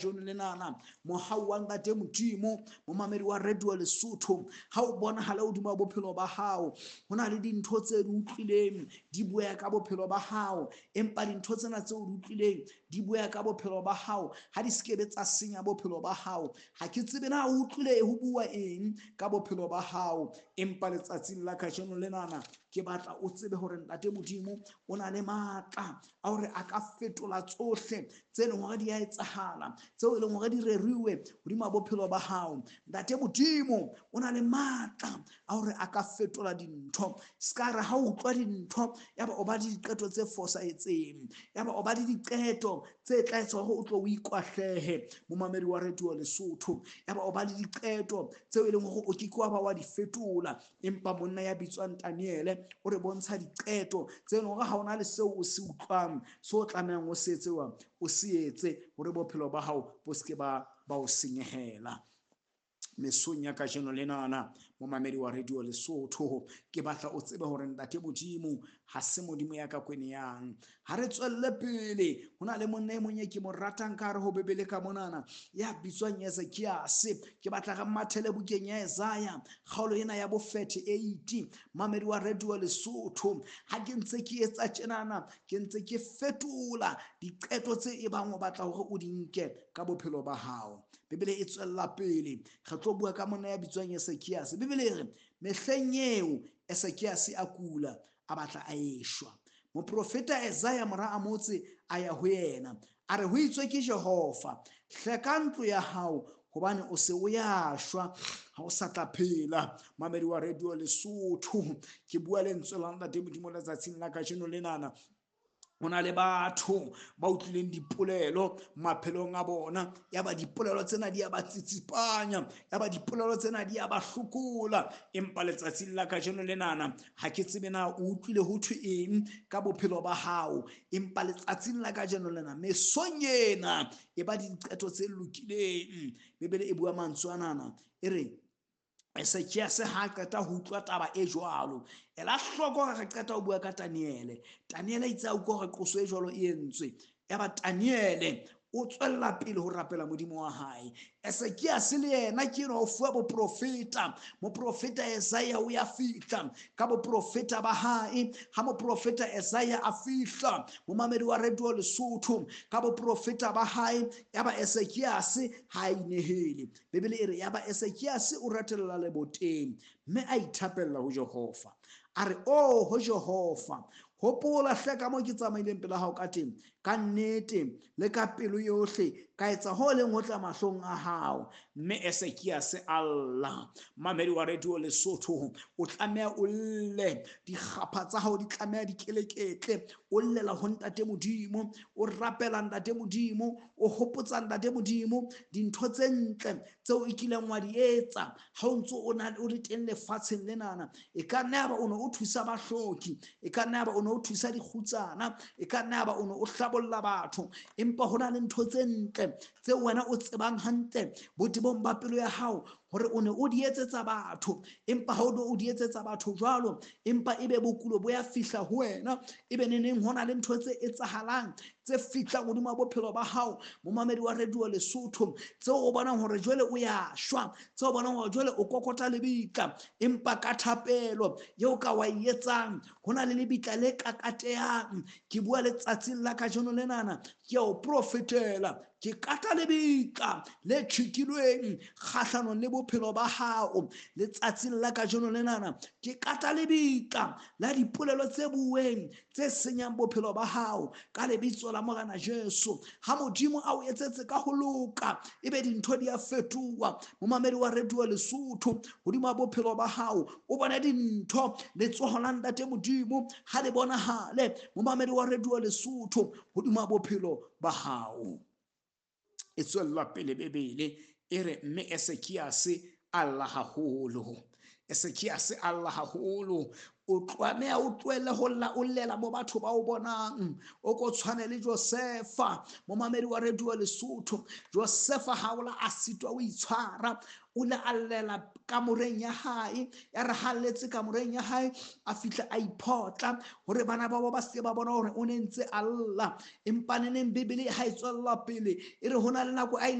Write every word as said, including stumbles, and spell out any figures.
Kajeno lenana mohau wa Ntate Modimo, momamedi wa Radio Lesotho, ha o bonahala hodima bophelo ba hao, ho na le dintho tse di utlwileng di bua ka bophelo ba hao, empa dintho tsena tseo di utlwileng di bua ka bophelo ba hao ha di sekebe tsa senya bophelo ba hao. Ha ke tsebe na o utlwile ho bua eng ka bophelo ba hao, empa letsatsing la kajeno lenana ke batla o tsebe hore Ntate Modimo o na le matla a hore a ka fetola tsohle tse leng hore di a etsahala, tseo e leng hore di reriwe hodima bophelo ba hao. Ntate Modimo o na le matla a hore a ka fetola dintho. Ska re ha o utlwa dintho yaba o ba le diqeto tse fosahetseng, yaba o ba le diqeto tse tla etsa hore o tlo o ikwahlehe, momamedi wa Radio Lesotho, yaba o ba le diqeto tseo e leng hore o ke ke wa ba wa di fetola. Empa monna ya bitswang Daniele o re bontsha diqeto tse leng hore ha ona le seo o se utlwang, seo o tlamehang o se etse, o se etse hore bophelo ba hao bo se ke ba ba o senyehela. Mesong ya kajeno lenana, momamedi wa Radio Lesotho, ke batla o tsebe hore Ntate Modimo ha se Modimo ya ka kweneyang. Ha re tswelle pele, ho na le monna e mong e ke mo ratang ka hare ho Bibele ka monana, ya bitswang Ezekiase. Ke batla re mathele bukeng ya Isaiah, kgaolo ena ya bo thirty-eight. Mamedi wa Radio Lesotho, ha ke ntse ke etsa tjenana, ke ntse ke fetola diqeto tse e bang o batla hore o di nke ka bophelo ba hao. Bibele e tswella pele, re tlo bua ka monna ya bitswang Ezekiase. Bibele e re mehleng eo Ezekiase a kula, a batla a eshwa. Moprofeta Isaiah mora Amotse a ya ho yena, a re ho itswe ke Jehova, hleka ntlo ya hao hobane o se o ya shwa, ha o sa tla phela. Mamedi wa Radio Lesotho, ke bua lentswe la Ntate Modimo letsatsing la kajeno lenana. Ho na le batho ba utlwileng dipolelo maphelong a bona, yaba dipolelo tsena di a ba tsitsipanya, yaba dipolelo tsena di a ba hlokola. Empa letsatsing la kajeno lenana, ha ke tsebe na o utlwile ho thwe eng ka bophelo ba hao, empa letsatsing la kajeno lena, mesong ena e ba diqeto tse lokileng. Bibele e bua mantswe anana, e re Ezekiase ha qeta ho utlwa taba e jwalo, ela hloko hore re qeta ho bua ka Daniele. Daniele itse a utlwa hore qoso e jwalo e entswe, yaba Daniele o tswella pele ho rapela Modimo wa hae. Ezekiase le yena ke enwa o fuwa boprofeta. Moprofeta Isaiah o ya fihla ka boprofeta ba hae. Ha moprofeta Isaiah a fihla, momamedi wa Radio Lesotho, ka boprofeta ba hae, yaba Ezekiase ha a inehele. Bibele e re yaba Ezekiase o ratella leboteng mme a ithapella ho Jehova. A re, "Oh, ho Jehova, hopola hle ka moo ke tsamaileng pela hao ka teng, ka nnete le ka pelo yohle, ka etsa ho leng ho tla mahlong a hao." Mme Ezekiase a lla. Mamedi wa Radio Lesotho, o tlameha o lle, dikgapha tsa hao di tlameha di keleketle, o llela ho Ntate Modimo, o rapela Ntate Modimo, o hopotsa Ntate Modimo dintho tse ntle tseo e kileng wa di etsa ha o ntso o na o le teng lefatsheng lenana. E ka nna yaba o ne o thusa bahloki, e ka nna yaba o ne o thusa dikgutsana, e ka nna yaba o ne o hlabolla batho, empa ho na le ntho tse ntle tseo wena o tsebang hantle botebong ba pelo ya hao hore o ne o di etsetsa batho, empa ha o ne o di etsetsa batho jwalo, empa ebe bokulo bo ya fihla ho wena, ebe neneng ho na le ntho tse etsahalang tse fihlang hodima bophelo ba hao, momamedi wa Radio Lesotho, tseo o bonang hore jwale o ya shwa, tseo o bonang hore jwale o kokota lebitla, empa ka thapelo eo ka wa e etsang, ho na le lebitla le kakatehang. Ke bua letsatsing la kajeno lenana, ke a o profetela, ke kata lebitla le tjhikilweng kgahlanong le bophelo ba hao letsatsing la kajeno lenana. Ke kata lebitla la dipolelo tse bueng tse senyang bophelo ba hao ka lebitso la Morena Jesu. Ha Modimo a o etsetse ka ho loka, ebe dintho di a fetoha. Momamedi wa Radio Lesotho, hodima bophelo ba hao o bone dintho, letsoho la Ntate Modimo ha le bonahale. Momamedi wa Radio Lesotho, hodima bophelo ba hao. E tswella pele Bibele e re mme Ezekiase a lla haholo. Ezekiase a lla haholo. O tlameha o tlohelle ho lla, o llela mo batho ba o bonang. O ko tshwane le Josefa, momamedi wa Radio Lesotho. Josefa ha o la a sitwa o itshwara, o le a llela kamoreng ya hae. Ya re ha letse kamoreng ya hae, a fihla a iphotla hore bana ba bo ba se ba bona hore o ne ntse a lla. Empa neneng Bibele ha e tswella pele e re ho na le nako a